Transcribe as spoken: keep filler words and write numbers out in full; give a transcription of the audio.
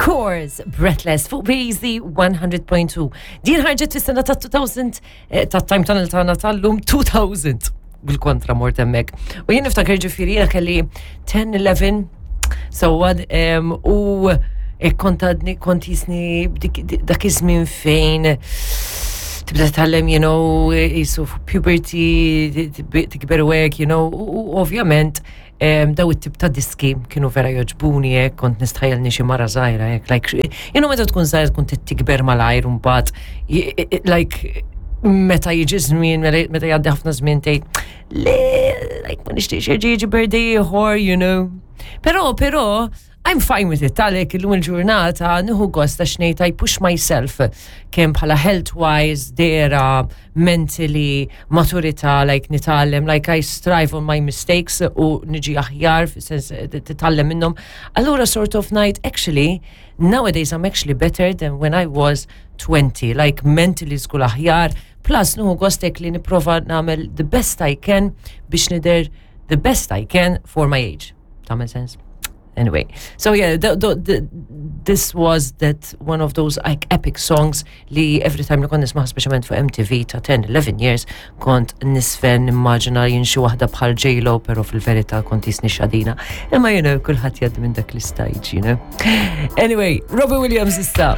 Course, Breathless fuq B Z one hundred point two. Din ħarġet fis-sena ta' elfejn, eh, ta' Time Tunnel tagħna tal-lum elfejn bil-kontra mort hemmhekk. U jien niftakar, ġifieri jiena kelli ten, eleven, so what, um, u eh, kont għadni kont jisni b'dik- dak iż-żmien fejn tibda titgħallem, you know, jisu puberty, tikber u hekk, you know, u u ovvjament em, daw it-tip ta' diski kienu vera jogħġbuni hekk, kont nistħajjelni xi mara żgħira hekk, like, you know, meta tkun żgħira tkun tikber malajr u mbagħad, like, meta jiġi żmien, meta jgħaddi ħafna żmien tgħid, le, like, ma nixtieqx jerġa' jiġi birthday ieħor, you know. Però, però, I'm fine with it, għalek illum il-ġurnata nieħu gost għax ngħid I push myself kemm bħala health-wise, dera, mentally, maturità, like nitgħallem, like I strive on my mistakes u niġi aħjar, fis-sens titgħallem minnhom. Allura sort of ngħid, actually, nowadays I'm actually better than when I was twenty, like mentally żgur aħjar, plus nieħu gost hekk li nipprova nagħmel the best I can biex nidher the best I can for my age. Tagħmel sens? Anyway, so yeah, the, the, the, this was that one of those like epic songs li every time li kont nisma', speċjalment fuq M T V ta' ten, eleven years, kont nisfen nimmaġina jien xi waħda bħal J-Lo, pero fil-verità kont jisni xadina. Imma you know, kulħadd jgħaddi minn dak l-istage, you know. Anyway, Robbie Williams issa.